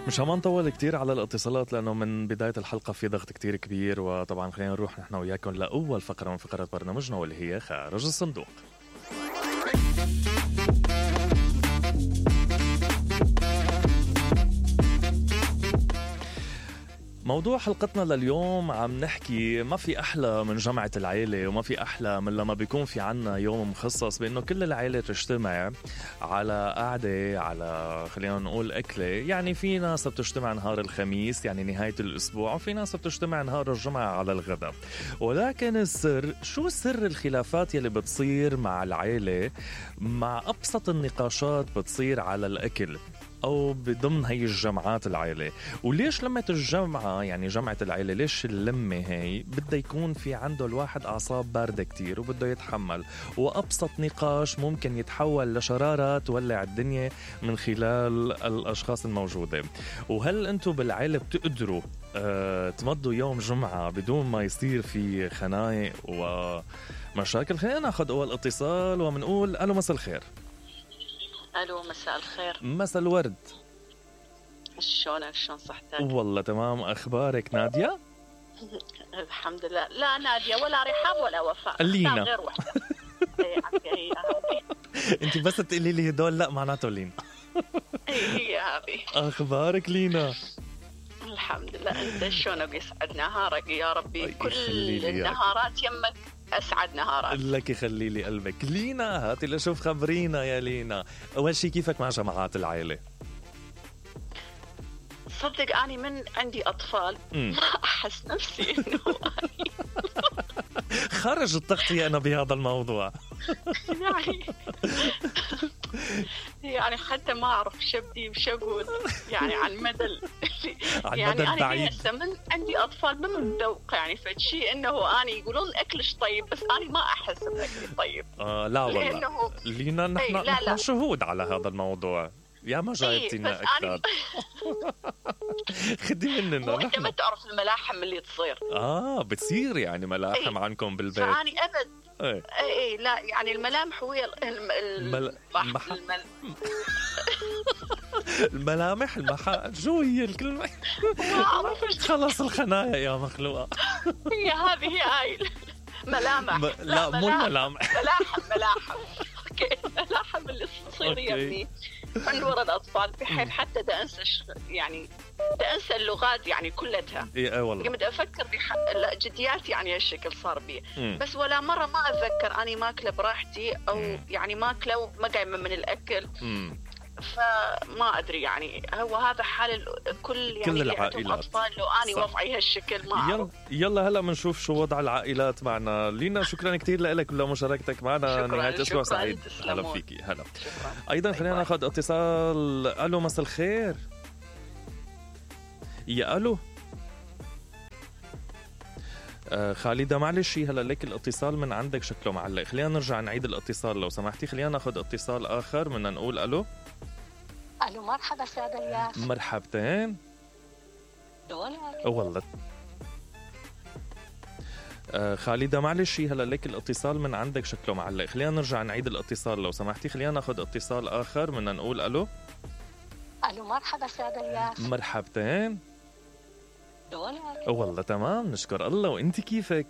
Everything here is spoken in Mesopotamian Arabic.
مش ما نطول كتير على الاتصالات لأنه من بداية الحلقة في ضغط كتير كبير، وطبعا خلينا نروح نحن وياكم لأول فقرة من فقرات برنامجنا واللي هي خارج الصندوق. موضوع حلقتنا لليوم عم نحكي ما في أحلى من جمعة العيلة، وما في أحلى من لما بيكون في عنا يوم مخصص بأنه كل العيلة تجتمع على قعدة، على خلينا نقول أكلة. يعني في ناس بتجتمع نهار الخميس يعني نهاية الأسبوع، وفي ناس بتجتمع نهار الجمعة على الغداء. ولكن السر، شو سر الخلافات يلي بتصير مع العيلة مع أبسط النقاشات بتصير على الأكل أو بضمن هاي الجمعات العائلة؟ وليش لمة الجمعة يعني جمعة العائلة ليش اللمة هاي بدها يكون في عنده الواحد أعصاب باردة كتير وبده يتحمل، وأبسط نقاش ممكن يتحول لشرارة تولع الدنيا من خلال الأشخاص الموجودة؟ وهل أنتوا بالعائلة بتقدروا تمضوا يوم جمعة بدون ما يصير في خناق ومشاكل؟ خلينا ناخد أول اتصال ومنقول ألو مساء الخير. الو مساء الخير. مساء الورد. شلونك؟ شلون صحتك؟ والله تمام. اخبارك نادية؟ الحمد لله. لا نادية ولا رحاب ولا وفاء، لينا غير وحدة. انت بس تقولي لي هدول لا معناته لينا. هي هذه. اخبارك لينا؟ الحمد لله. انت شلونك؟ يسعد نهارك يا ربي. كل النهارات يمك أسعد نهارات. لك يخلي لي قلبك. لينا هاتي لشوف خبرينا يا لينا، أول شي كيفك مع جماعات العائلة؟ صدق أنا من عندي أطفال ما أحس نفسي إنه خرج التغطية أنا بهذا الموضوع. يعني حتى ما أعرف شبدي وشقول يعني عن مدى يعني أنا من عندي أطفال ما متذوق يعني فشي إنه أنا يقولون أكلش طيب بس أنا ما أحس بأكلي طيب. لا والله لينا نحن شهود على هذا الموضوع. يا ما جايبتنا أكثر. خدي مننا نحن. ما تعرف الملاحم اللي تصير. بتصير يعني ملاحم عنكم بالبيت؟ فأني أبد. اي لا يعني الملامح هي الملامح شو هي الكلمة؟ خلص الخنايا يا مخلوقة. هي هذه هاي ملامح. لا مو الملامح. ملاحم. اوكي ملاحم اللي تصير يا ابني من وراء الأطفال بحيث حتى دا أنسى يعني دا أنسى اللغات يعني كلتها. إيه والله. قمت أفكر جديات يعني هالشكل صار بي. بس ولا مرة ما أتذكر أني ماكلة براحتي أو يعني ماكلة ما قايمة من الأكل. فما أدري يعني هو هذا حال كل يعني العائلات. أطفال لو أني وضعي هالشكل ما أعرف. يلا هلا منشوف شو وضع العائلات معنا. لينا شكرا كتير لك ولمشاركتك معنا. نهاية أسبوع سعيد. هلا فيكي. هلا. أيضا خلينا ناخد اتصال. ألو مساء الخير. يا ألو خالدة معلش هلا لك الاتصال من عندك شكله معلق. خلينا نرجع نعيد الاتصال لو سمحتي. خلينا ناخد اتصال آخر. بدنا نقول ألو. ألو مرحبا سادة الياس. مرحبتين. شلونك؟ والله خالدة معلش هلا لك الاتصال من عندك شكله معلق. خلينا نرجع نعيد الاتصال لو سمحتي. خلينا ناخد اتصال آخر. بدنا نقول ألو. ألو مرحبا سادة الياس. مرحبتين. شلونك؟ والله تمام نشكر الله. وانت كيفك؟